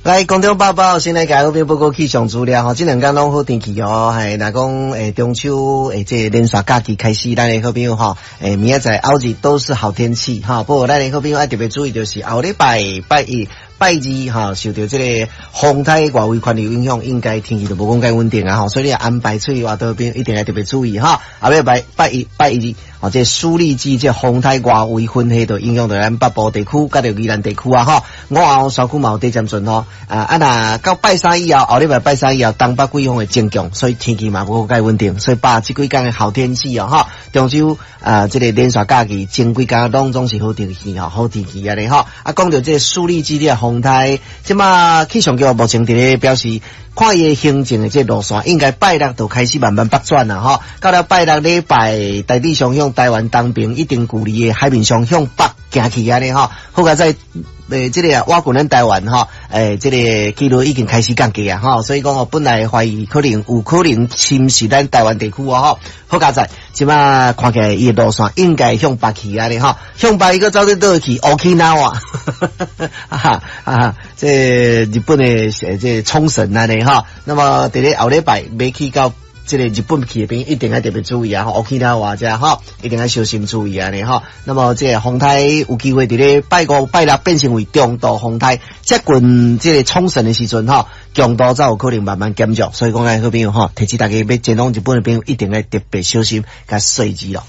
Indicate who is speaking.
Speaker 1: 來，空中報報，先來共好朋友報告氣象資料吼，這兩工攏好天氣哦，係若講中秋這個連續假期開始，咱的好朋友吼，明仔載後日都是好天氣哈。不過咱的好朋友愛特別注意，就是後禮拜拜一、拜二吼，受著這個風颱外圍環流影響，應該天氣就無講蓋穩定啊吼，所以你安排出去活動邊一定愛特別注意哈。後禮拜拜一、拜二，吼，這個舒力基這個風颱外圍雲系就影響著咱北部地區，佮著宜蘭地區啊吼，午後山區嘛有短暫陣雨。啊，若到拜三以後，後禮拜拜三以後，東北季風會增強，所以天氣嘛無蓋穩定，所以把這幾工的好天氣哦，吼，中秋啊，這個連續假期前幾工攏總是好天氣吼，好天氣按呢吼。啊，講著這個舒力基的風颱，這馬氣象局目前佇咧表示，看伊的行進的這個路線，應該拜六就開始慢慢北轉啦，吼。到了拜六禮拜，大致上向台灣東邊一定距離的海面上向北行去按呢吼。好佳哉，這個啊，倚近咱台灣吼，這個幾率已經開始降低啊，吼，所以講我本來懷疑可能有可能侵襲咱台灣地區哦，吼，好佳哉，這馬看起來伊的路線應該向北去按呢吼，向北伊閣走佇佗去沖繩啊，哈啊，這日本的這個沖繩按呢吼，那麼佇咧後禮拜欲去到這個日本去的朋友一定愛特別注意啊！吼，沖繩遮吼，一定愛小心注意按呢吼。那麼這個風颱有機會佇咧拜五、拜六變成為中度風颱，接近這個沖繩的時陣吼，強度才有可能慢慢減弱。所以講，咱好朋友吼，提醒大家欲前往日本的朋友一定愛特別小心，共細緻咯。